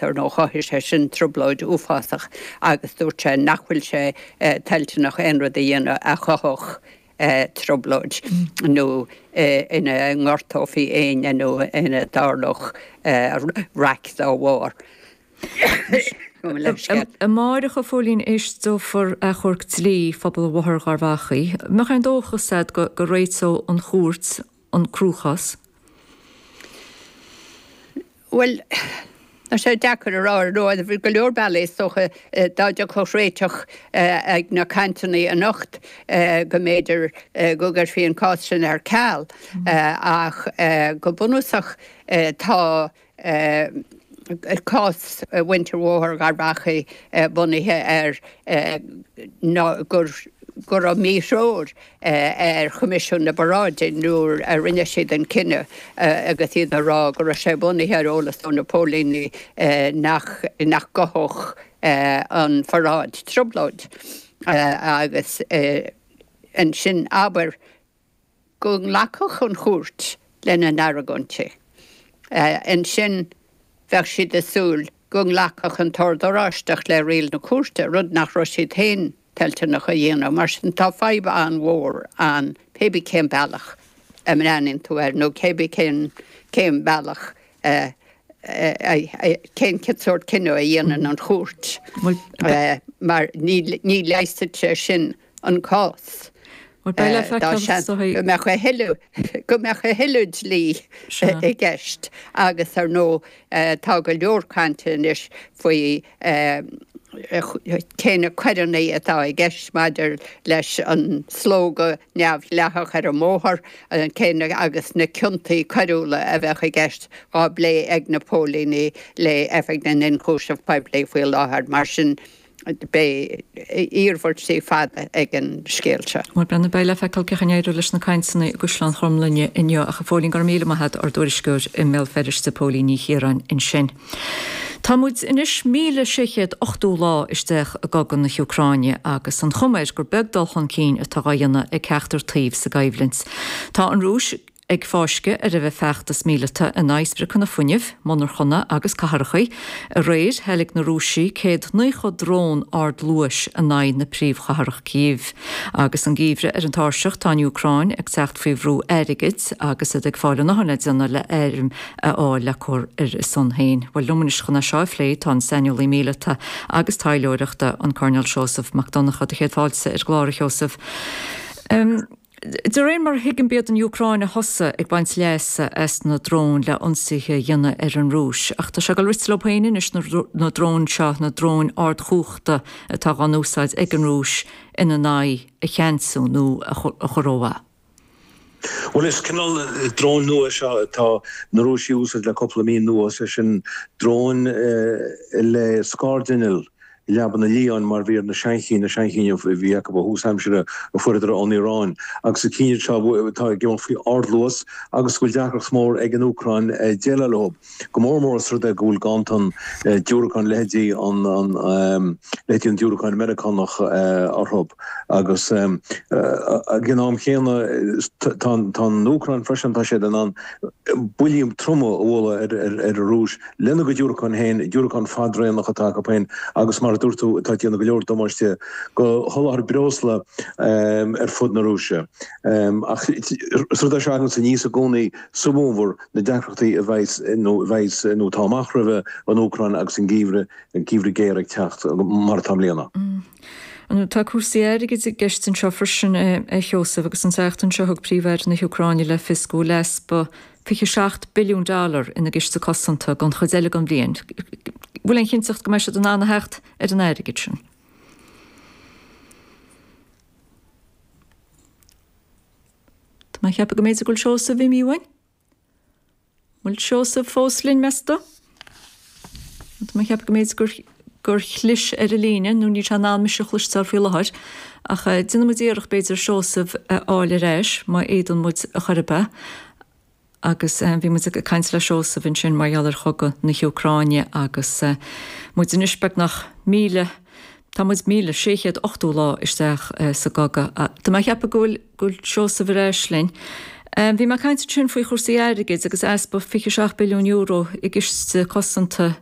Ar ndóigh chothaigh sé sin trioblóid uafásach agus dúirt sé nach bhfuil sé toilteanach aon rud a dhéanamh a chothódh trioblóid nó ina ngortófaí éinne nó ina dtarlódh raic dá bharr. Amáireach, a Phóilín, éisteofar achomharc dlí phobal Bhóthar Gharbhachaidh. An mbeadh aon dóchas agat go réiteodh an chúirt an cruachás? Bhuel, tá sé deacair a rá ar ndóigh. Bhí go leor bealaí is dócha dá dtiocfadh réiteach ag na cainteanna anocht go mb'fhéidir go gcuirfí an cás sin ar ceal. Ach go bunúsach tá cás mhuintir Bhóthar Gharbhachaidh bunaithe ar gur go raibh míthreoir ar Choimisiún na bParáidí nuair a rinne siad an cinneadh agus iad ag rá go raibh sé bunaithe ar eolas ó na póilíní nach nach gcothódh an pharáid trioblóid agus ansin abair go nglacfadh an chúirt lena n-argóintí. Ansin bheadh siad ag súil go nglacfadh an tOrd Oráisteach le riail na cúirte, rud nach raibh siad féin toilteanach a dhéanamh. Mar sin tá fadhb an-mhór ann pé bí cén bealach a mbreathnaíonn tú air nó cé bí cén cén bealach a cén sórt cinneadh a dhéanann an chúirt mar ní ní leigheasfaidh sé sin an cás. Dá seans go mbeadh a thuilleadh go mbeadh a thuilleadh dlí i gceist agus ar ndóigh tá go leor cainte anois faoi cé na coireanna atá i gceist maidir leis an slógadh neamhdhleathach ar an mbóthar, cé na agus na ciontaí coiriúla a bheadh i gceist á bplé ag na póilíní le Oifig na nIonchúiseamh Poiblí faoi láthair. Mar sin. Beidh iarmhairtí fada ag an scéal seo. Bhuel, breathnú, beidh le feiceáil cén chaoi a n-éireoidh leis na cainteanna i gCaisleán Chromghlinne inniu. Ach a Phóilín, go raibh míle maith agat, ár dtuairisceoir i mBéal Feirste, Póilín Ní Chiaráin ansin. Tá muid anois 1,680 lá isteach i gcogadh na hÚcráine agus an chuma air gur beag dul chun cinn atá á dhéanamh ag ceachtar taobh sa gcoimhlint. Tá an Rúis. ag fáisceadh ar a feachtas míleata in aghaidh spriocanna fuinnimh, monarchana agus cathracha. Aréir, theilg na Rúisigh 190 drón ardluais in aghaidh na príomhchathrach Kyiv. Agus an geimhreadh ar an tairseach, tá an Úcráin ag teacht faoi bhrú airgid agus iad ag fáil a ndóthain le déanamh le airm a fháil le cur ar a son féin. Bhuel, liom anois chun é seo a phlé tá an saineolaí míleata agus taidhleoireachta, an Coirnéal Seosamh Mac Donncha. Do chéad fáilte ar an gclár, a Sheosaimh. De réir mar a thuigim b'iad an Úcráin a thosaigh ag baint leasa as na dróin le ionsaithe a dhéanamh ar an Rúis. Ach tá sé ag dul rite leo féin anois na dróin seo, na dróin ardchumhachta atá dhá n-úsáid ag an Rúis ina n-aghaidh a cheansú nó a chur ó mhaith. Bhuel, is cineál dróin nua é seo atá na Rúisigh a úsáid le cúpla mí anuas, sé sin dróin le scaird-inneall. leaba na liáin mar bhí ar na seanchinn, na seanchinn a bhí acu ó thús aimsire a fuaireadar ón Iaráin. Agus na cinn iad seo atá ag imeacht faoi ardluas agus go bhfuil deacracht mhór ag an Úcráin déileáil leo, go mór mór os rud é go bhfuil ganntan diúracán, leithéidí an leithéidí an diúracáin Meiriceánach orthu. Agus ag an am chéanna tá an Úcráin freisin, tá siad in ann buillí troma a bhualadh ar an Rúis. Lena gcuid diúracán féin, diúracáin fadraonach atá acu féin agus mar a dúirt tú, atá ag déanamh go leor damáiste do sholáthar breosla ar fud na Rúise. Ach is rud é seo a thaganns aníos i gcónaí sa bhfómhar, na deacrachtaí a bheas nó a bheas nó atá amach roimhe an Úcráin agus an geimhreadh, an geimhreadh géar ag teacht, mar atá i mbliana. Tá cúrsaí airgid i gceist anseo freisin, a Sheosaimh, agus an tseachtain seo thug Príomh-Aire na hÚcráine le fios go bhfuil easpa 27 billiún dollar ina gciste cosanta don chuid eile den bhliain. Bhfuil aon chinnteacht go mbeidh siad in ann a theacht ar an airgead sin? Tá mé ag ceapadh go mb'fhéidir go bhfuil Seosamh imithe uainn. Bhfuil Seosamh fós linn, meas tú? Tá mé ag ceapadh go mb'fhéidir gur gur chlis ar an líne, nó níl sé in ann mise a chloisteáil faoi láthair. Ach déanfaidh muid iarracht, b'fhéidir, Seosamh a fháil ar ais, má fhéadann muid a chor ar bith. Agus bhí muid ag caint le Seosamh ansin mar gheall ar chogadh na hÚcráine agus muid anois beagnach 1,000, tá muid 1,680 lá isteach sa gcogadh. Tá mé ag ceapadh go bhfuil, go bhfuil Seosamh ar ais linn. Bhí mé ag caint ansin faoi chúrsaí airgid agus easpa €27 billiún i gciste cosanta.